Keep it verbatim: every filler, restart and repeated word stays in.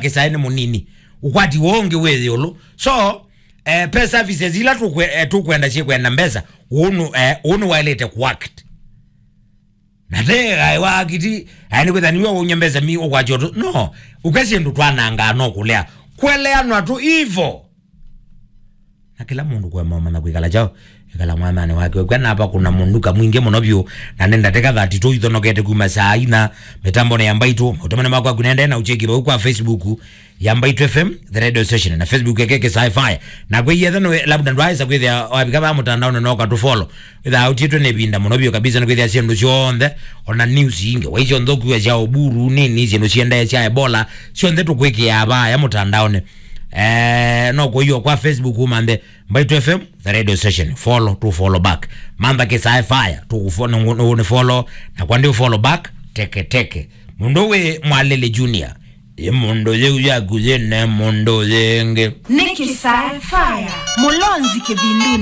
Kĩsaĩ nĩ mũnini. Ũkwati woo ũngĩ wĩ ĩũlũ. So, eh, pesa services ila tũkwe-, eh, tũkwenda syĩkwenda mbesa, ũũ nũ-, eh, ũũ nĩwaĩlĩte kũact. Na te aĩ wa akiti, aĩ nĩkwĩtha nĩwe waumya mbesa mi ũkwatya ũtũ. No, ũka syĩndũ twanangaa no kũlea. Kweleanwa tu ivo. Na kĩla mũndũ kũema ũmanya kwĩkala kyaũ, ĩkala mwananĩ wake. Kwa napa kuna mũnduka mwingĩ mũno vyũ, na nĩ ndatĩka thirty-two ithonokete kuma saa ina, mĩtambonĩ ya Mbaitũ, maũtemane makwa kunende na ũcheki vau kwa Facebook ya Mbaitũ F M, The Radio Station, na Facebook yake Kĩsaĩ Fire. Na kwĩ yetha nwe, labda ndwaĩsa kwĩthĩa wavika vaa mũtandaonĩ no katũfollow. Ĩthaa ũtiĩtwe nĩ ĩvinda mũno vyũ kabisa nĩ kwĩthĩa syĩndũ syonthe, ona news ingĩ, waisyo nthũku sya Oburu, nini, syĩndũ siendee sya Ebola, syonthe tũkwĩkĩaa vaya mũtandaonĩ. Eh, no kũiyo kwa Facebook umanthe Mbaitũ F M, The Radio Station. Follow, to follow back. Mantha Kĩsaĩ Fire, to fo-, no, no, ni follow, na kwa ndio follow back, teke teke. Mũndũ wĩ Mwalele Junior. Ĩ mũndũ yĩu yaku yĩne mũndũ yĩngĩ. Nĩ Kĩsaĩ Fire, Mũlonzi Kĩvindu.